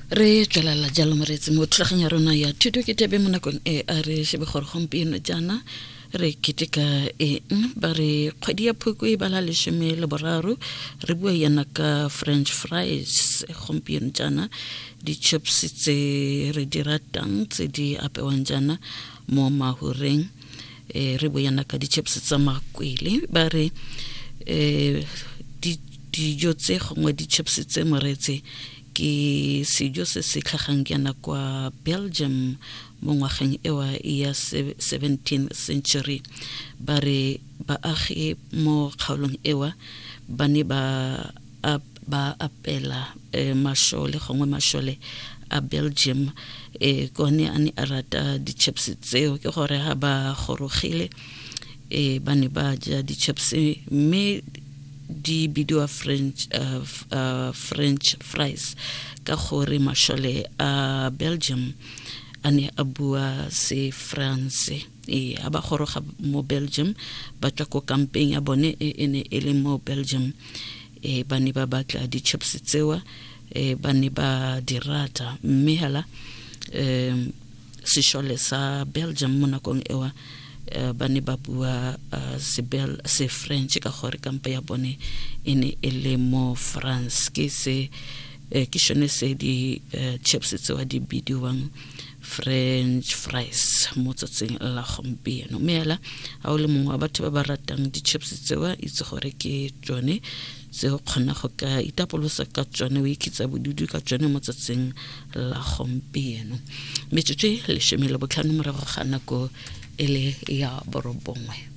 Re tswelela jalo moreetsi mo thulaganyo ya rona ya thuto ke tebe mo nakong e a re shebe gore gompieno jaana re keteka eng. Ba re kgwedi ya Phukwi e bala 13, re bua yana ka french fries gompieno jaana, di-chips tse re di ratang tse di apewang jaana mo mahureng. Re bua yana ka di-chips tsa makwele. Ba re dijo tse gongwe di-chips tse, moreetsi, ke sejo se se tlhagang jaana kwa Belgium mo ngwageng ewa ya 17th century. Ba re baagi mo kgaolong ewa ba ne ba apela mashole gongwe mashole a Belgium kone a ne a rata di-chips tseo, ke gore ha ba gorogile ba ne ba ja di-chips, mme di bidiwa French fries ka gore mashole a Belgium a ne a bua se France. A ba goroga mo Belgium ba tswa ko kampeng ya bone e e ne e le mo Belgium, ba ne ba batla di-chips tsewa, ba ne ba di rata. Mme hela sešole sa Belgium mo nakong ewa ba ne ba bua se French ka gore kampa ya bone e ne e le mo France. Ke se ke shone se di chips tsewa di bidiwang french fries mo tsatsing la gompieno. Mme hela ga o le mongwe wa batho ba ba ratang di-chips tsewa, itse gore ke tsone tse o kgona go ka itapolosa ka tsone, o ikitsa bodudu ka tsone mo tsatsing la gompieno. Metsotso e 15 morago ga nako e le ya 9.